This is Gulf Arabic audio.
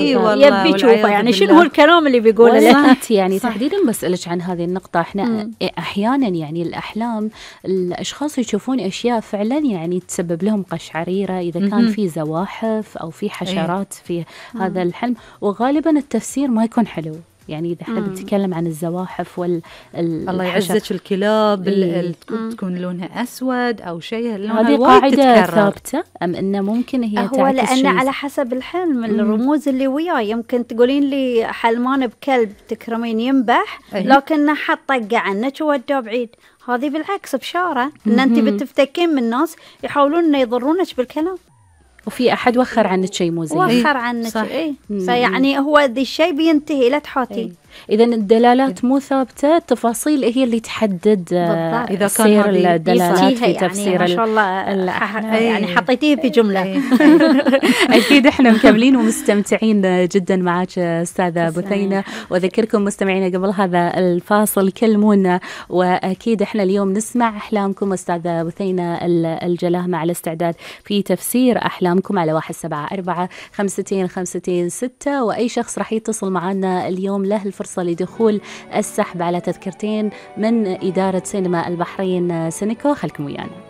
اي والله يبي يشوفه يعني شنو هو الكلام اللي بيقوله له. وصلت يعني تحديدا بسألك عن هذه النقطة. احنا احيانا يعني الأحلام الأشخاص يشوفون أشياء فعلا يعني تسبب لهم قشعريرة إذا كان في زواحف أو في حشرات في هذا الحلم، وغالبا التفسير ما يكون حلو. يعني إذا احنا بنتكلم عن الزواحف الله يعزك الكلاب تكون لونها أسود أو شيء، هذه قاعدة ثابتة أم إنه ممكن هي هو لأن على حسب الحلم الرموز اللي وياه. يمكن تقولين لي حلمان بكلب تكرمين ينبح لكنه حط طقة عنك ووداه بعيد، هذه بالعكس بشارة إن أنت بتفتكين من ناس يحاولون إنه يضرونك بالكلام، وفي أحد وخر عنك شيء مو زين، وخر عنك فيعني هو ذي الشيء بينتهي لا تحاتي. إذا الدلالات مو ثابتة، التفاصيل هي اللي تحدد إذا كان الدلالات في تفسير يعني ما شاء الله يعني حطيتيه في جملة. أكيد إحنا مكملين ومستمتعين جدا معك أستاذة بثينة، وأذكركم مستمعينا قبل هذا الفاصل كلمونا، وأكيد إحنا اليوم نسمع أحلامكم. أستاذة بثينة الجلاه مع الاستعداد في تفسير أحلامكم على 174-52-56، وأي شخص راح يتصل معنا اليوم له الفرصة لدخول السحب على تذكرتين من إدارة سينما البحرين سينيكو. خلكم ويانا.